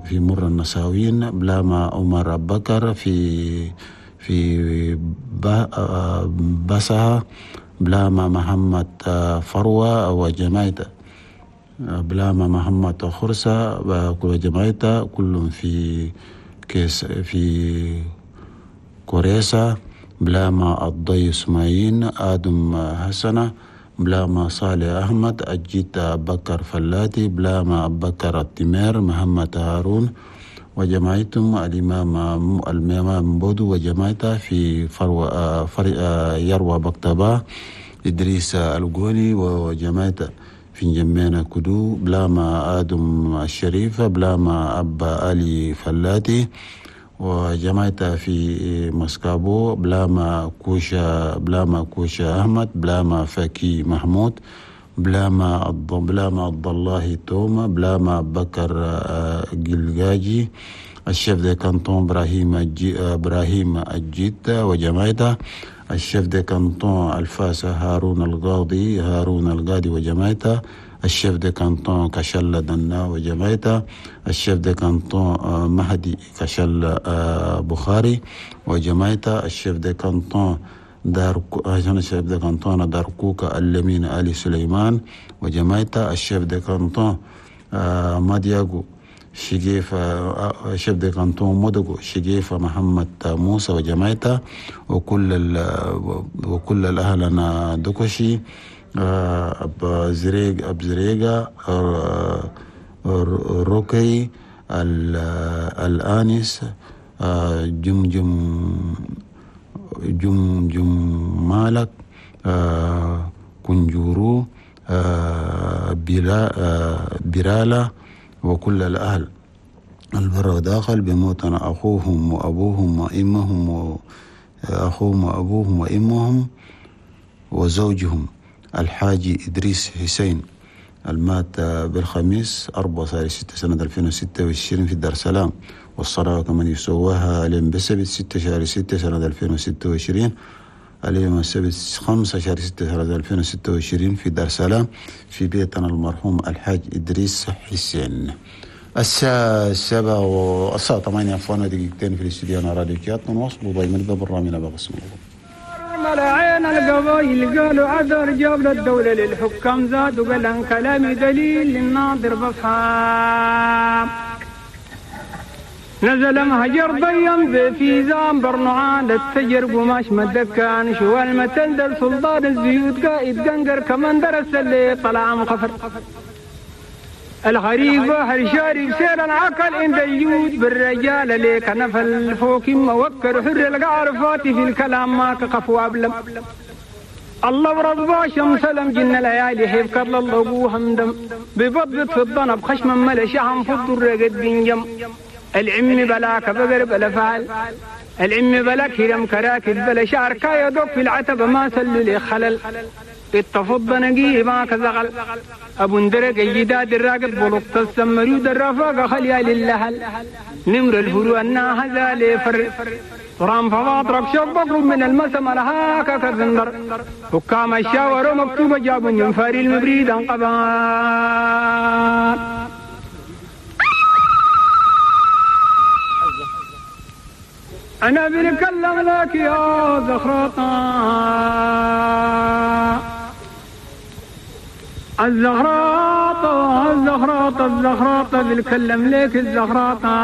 في مر النساوين، بلاما عمر بكر في بسها، بلاما محمد فروة وجماعته، بلاما محمد خرسة وجماعته كلهم في كيس في كوريسا، بلاما الضي اسماعيل آدم حسنة، بلاما صالح أحمد أجيت بكر فلاتي، بلاما بكر التمير محمد هارون وجماعتهم، الإمام بودو وجماعته في يروى بكتبا، إدريس الجوني وجماعته في جمينا كدو، بلاما آدم الشريف، بلاما أبا علي فلاتي وجماعته في مسكابو، بلاما كوشا أحمد، بلاما فكي محمود، بلاما عبد الله توما، بلاما بكر جلجاجي، ال chef de canton إبراهيم الجيت وجماعته، ال chef de canton الفاسة هارون القاضي وجماعته، ال chef de canton كشلة دنا وجماعته، ال chef de canton مهدي كشلة بخاري وجماعته، ال chef de canton ال chef de canton داركوكا اللمين علي سليمان وجماعته، ال chef de canton مادياغو شجيفة، chef de canton مودغو شجيفة محمد موسى وجماعته، وكل الأهلنا دوكوشي، أب زريقة روكي الآنس جمجم جمجم مالك كنجورو برالا وكل الأهل البر وداخل بموتنا أخوهم وأبوهم وإمهم وأخوهم وأبوهم وإمهم وزوجهم الحاج إدريس حسين المات بالخميس 4/6 سنة 2026 في دار سلام، والصلاة كمان يسواها اليوم بسبت 6/6 سنة 2026، اليوم السبت 5/6 سنة 2026 في دار سلام في بيتنا المرحوم الحاج إدريس حسين. الساعة 7 والساعة 8 دقيقتين في الاستوديو راديو كيات، نواصلوا دايما ببرنامجنا بقسم الغرب. ملعين القبايل قالوا عذر جاب للدولة للحكام زاد وقال عن كلامي دليل للناظر بفهم. نزل مهجر ضيم في زام برنعان التجر قماش مدكان شو المتل دل سلطان الزيوت قائد قنقر كمان درس اللي طلع مخفر الغريب بحر شارب سير العقل عند الجود بالرجال ليك نفل فوق موكر حر القعر فاتي في الكلام ما كقف وابلم الله ورضا شمس لم جن ليالي حيف كرل الله همدم ببضبط في الضنب خشما ملشهم في الضر قد بنجم العم بلاك بقر بلا فعل العم بلا كرم كراكب بلا شعر كايدوك في العتب ما سلل خلل التفض نقيه ما كزغل ابو اندرق الجداد الراقد بلطة السمريود الرفاقة خليا للهل نمر الفروع الناهزة لفر رام فواطرك شوق بقرب من المسم لهاك كذندر حكام الشاور مكتوبة جاب ينفاري المبريد انقبان. أنا بنكلم لك يا زخرطة الزخراطة الزخراطة الزخراطة بنكلم لك الزخراطة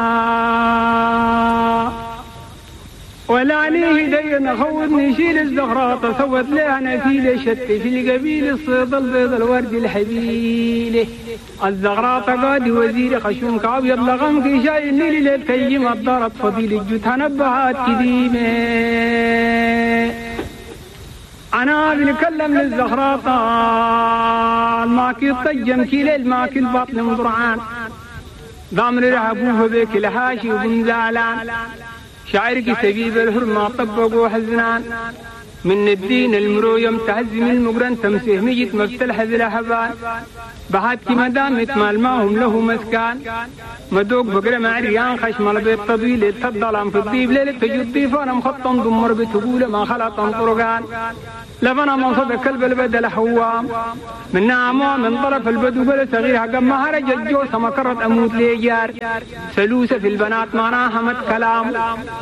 ولا عليه دين خوضني شيل الزخراطة سوت لي أنا في شت في القبيل الصيد البيض الورد الحبيل الزغراطة قادي وزير خشوم كعبيض لغمك شايل ليل للكيم الضرب فضيل الجوت نبهات كديمة أنا بنكلم للزخراطة الماكي الطجم كيل الماكي البطن مضرعان ضامن رهبوه بك الحاشي وبنزالان شعرك سبيب الحرمة طبقوا حزنان من الدين المرو تهزم المقرن تمسيه ميت مفتلح الحبان بحاتك مدامت مال ماهم له مسكان مدوق بقرة مع ريان خشم البيت طويل التضلم في الطيب ليلة تجد ضيفان مخطن ضمر بتقول ما خلط طرقان لفنا من صدق كلب البدل حوام من نعمة من طرف البدو بلا صغير حق ما هرج الجوسة ما كرت أموت ليجار سلوسة في البنات معناها مت كلام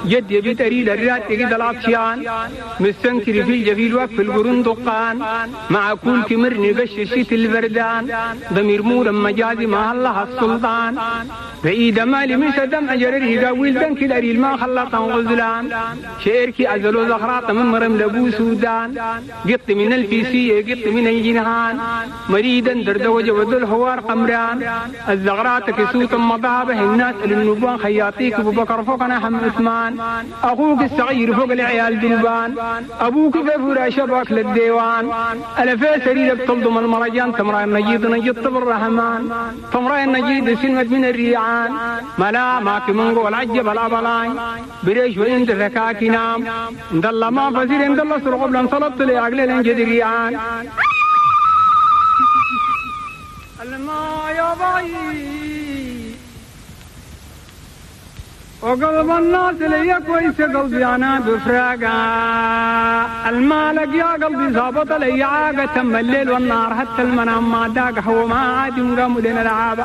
جد يبي تريد الرات تجد العطشان مستنكر في الجفيل وقف القرون دقان مع كل كمرني قش الشيت البردان ضمير مورا مجازي مع الله السلطان بعيد مالي من سدم أجرره قاويل دنك الأريل ما خلطا غزلان شعركي أزلو زخراط من مرم لبو سودان قط من الفيسية قط من الجنهان مريدا دردوج وذو الحوار قمران الزغرات كسوت مضابه الناس للنبان خياطيك ابو بكر فوقنا حم عثمان اخوك الصغير فوق العيال دلبان ابوك في فراش باك للديوان الفي سرير بتلضم المرجان تمرأ النجيد نجد طب الرحمن تمرأ النجيد سلمت من الريعان ملا ماك من قول عجب الابلاين بريش وانت فكاكي نام اندلا ما فزير اندلا سرق بلن صلت لي عقل الانجد الريعان الما يا باي وقلب الناس لي كويس قلبي انا بفراقه المالك يا قلبي ظابط لي عاقه تم الليل والنهار حتى المنام ما داق هو ما عاد قاموا لنا العابه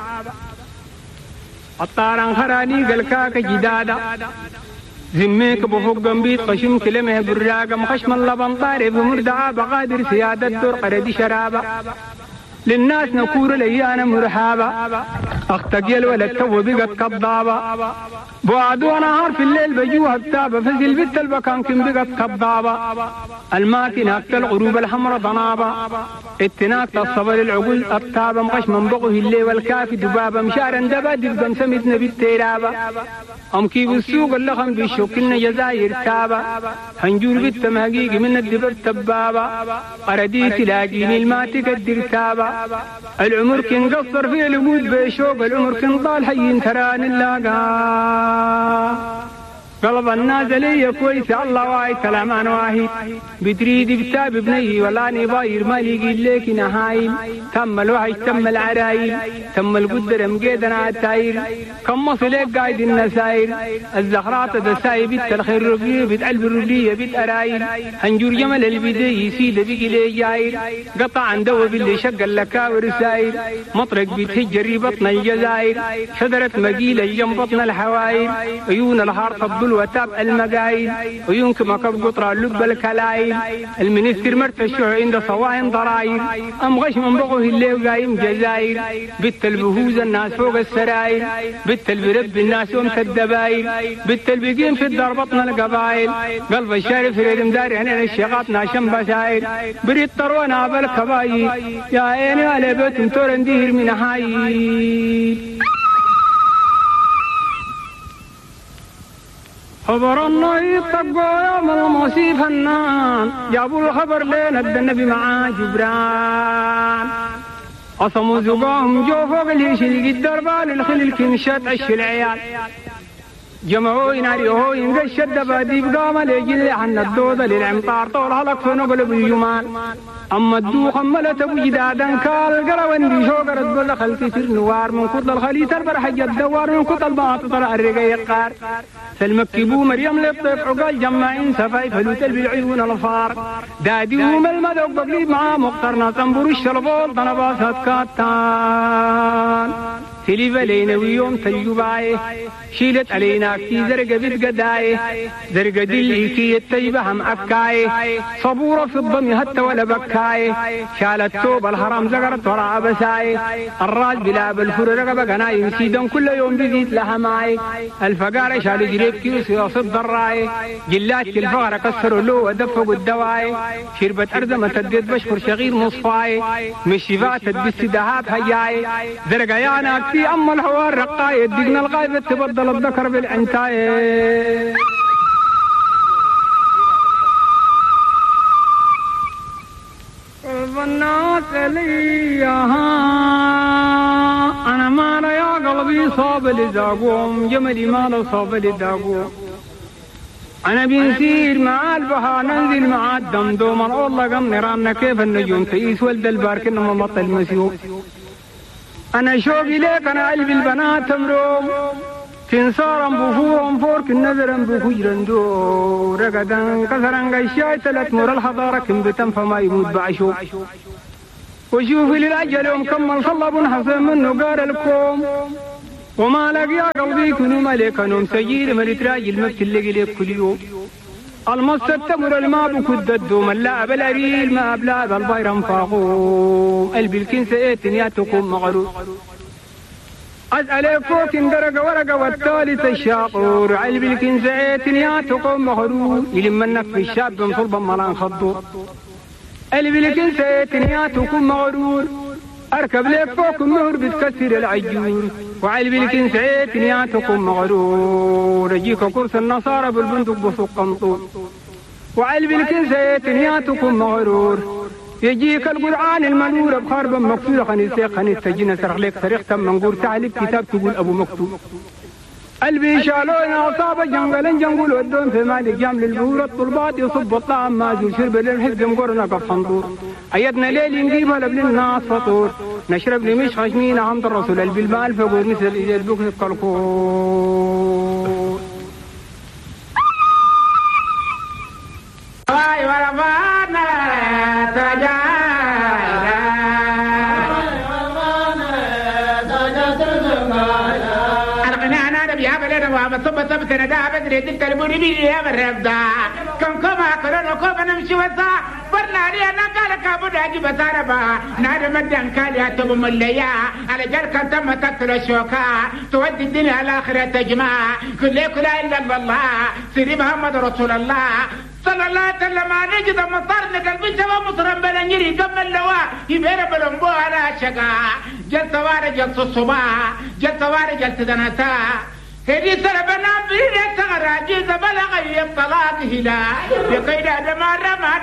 الطارن خراني قلكاك جدادا زميك بفوق جنبيت خشم كلمه براقه مخشم اللبن طارف مردعه بقادر سيادة دور قردي شرابه للناس نكور لي انا مرحابه اختك يا الولد تو بقت كضابه بعد ونهار في الليل بجوها بتابه فزل بنت البكان كم بقت كضابه الماكنه اكل الغروب الحمراء ضنابه اتناك الصبر العقول التابه مغش من بغه الليل والكافي دبابه مشارا دبا دبقا سمتنا بالتيرابه ام كيف السوق اللخم بيشوكلنا جزاير تابه هنجور بالتمهقيق من الدبر تبابه قردي تلاقيني الماتك الدرتابه العمر كن قصر في الوجود بشوق العمر كن طال حي تراني اللاقا قلب النازلية كويس الله واي كلامان واحد بتريد بتاب بني ولا نباير ما لقي لك نهايل تم الوحش تم العرايل تم القدر مقيدنا عالتاير كم مصلك قايد النساير الزخرات دساي بيت الخير ربلية بيت قلب الربلية بيت أرايل هنجور جمل البدي يسيد بيجي لي جاير قطع عن دو باللي شق اللكاور ساير مطرق بيتهجري بطن الجزائر شجرة مقيلة جنب بطن الحواير عيون الهار تفضل وتابع المقايل ويمكن مكب قطرة اللب الكلايل المنستر مرتشع عند صواهن ضراير أم غش من بغه الليل قايم جزاير بت البهوز الناس فوق السراير بت البرب الناس ومت الدباير بت البقين في الدار بطن القبايل قلب الشارف ريد مداري هنا الشيخات ناشم بساير بريد طرونا بالكبايل يا عيني على بيت تورن دير من هاي خبر النهي طقوا يوم الموسي فنان جابوا الخبر لين النبي مع جبران قصموا زقاهم جو فوق الهيش اللي الدربال الخل الكنشات عش العيال جمعوا يناريوه ينقش الدباديب قام ليجل عن الدودة للعمطار طول هلك فنقلب الجمال أما الدوخ ملت أبو جدادا كال قروان بشوقر تقول خلتي سر نوار من كتل الخليت البرحج الدوار من كتل الباطل طلع الرقيقار فالمكبو مريم للطيف عقال جماعين سفاي فلوت بالعيون الفار دادي وم المذوق بقليب مع مقترنا تنبر الشربول طنباسات كاتان تلي لينا ويوم تلجباي شيلت علينا كي زرقة بتقداي زرقة دلي كي التيبة هم أكاي صبورة في الضم حتى ولا بكاي شالت توب الحرام زقرت وراء بساي الراس بلا بالفر رقبة قناي سيدن كل يوم بزيد لها ماي الفقارة شالوا جريب كيوس يصد الراي جلات الفقرة كسروا له ودفقوا الدواي شربت أرزمة تديت بشكر شغير مصفاي مشيفات تدبس دهاب هياي زرقة يانا في أم الحوار رقاي دقنا الغايبة تبدل الذكر بالعنتاي قلب الناس ليها أنا ما يا قلبي صاب لزاقوم جملي ما صاب لزاقوم أنا بنسير مع البحر ننزل مع الدمدوم والله قم نيراننا كيف النجوم تقيس ولد البارك إنما بطل المسيوم أنا شوقي ليك أنا قلبي البنات تمروم سنسارا بفورا فورك النذرا بفجرا دو رقدا كسرا قشاي ثلاث مر الحضارة كم بتم فما يموت بعشو وشوف للأجل يوم كمل صلب حسن منه قار الكوم وما لقي يا قلبي كنو ملك نوم سجيل ملك راجل ما بتلقي لك كل يوم المص التمر الماء بكد الدوم اللاعب الأريل ما أبلاد البيرم فاقوم قلبي الكنسة ايتن يا تقوم مغرور أسأل فوق درجة ورقة والثالث الشاطور علب الكنسة ايتن يا تقوم مغرور يلم النف الشاب صلبا ملان خضور قلبي الكنسة ايتن يا تقوم مغرور أركب لك فوق النهر بتكسر العجور وعلبي الكنسة ايتن يا تقوم مغرور أجيك كرس النصارى بالبندق بسوق قنطور وعلبي الكنسة ايتن يا تقوم مغرور يجيك القرآن المنور بخرب مكسورة خنيسة خنيسة جينا سرق لك سرق تم منقور تعلب كتاب تقول أبو مكتوب قلبي شالونا أصاب جنجل جنجل ودون في مالك جام للبور الطلبات يصب الطعام ما زول شرب للحزب مقرنا قف حنطور أيدنا ليل نجيبها لبل الناس فطور نشرب لي مش خشمين عمد الرسول قلبي المال فقور مثل البكر الكلكور تودي الدنيا الآخرة تجمع كل لا إلا الله سيدي محمد رسول الله صلى الله عليه وسلم نجد مطرنا قلبي سوا مطرن بلنجري كم اللواء يبير بلنبو على شقا جلت وارا جلت الصباح جلت وارا جلت دنسا هدي سربنا بريد سغرا جيز بلغ يطلاق هلا بقيد ما رمى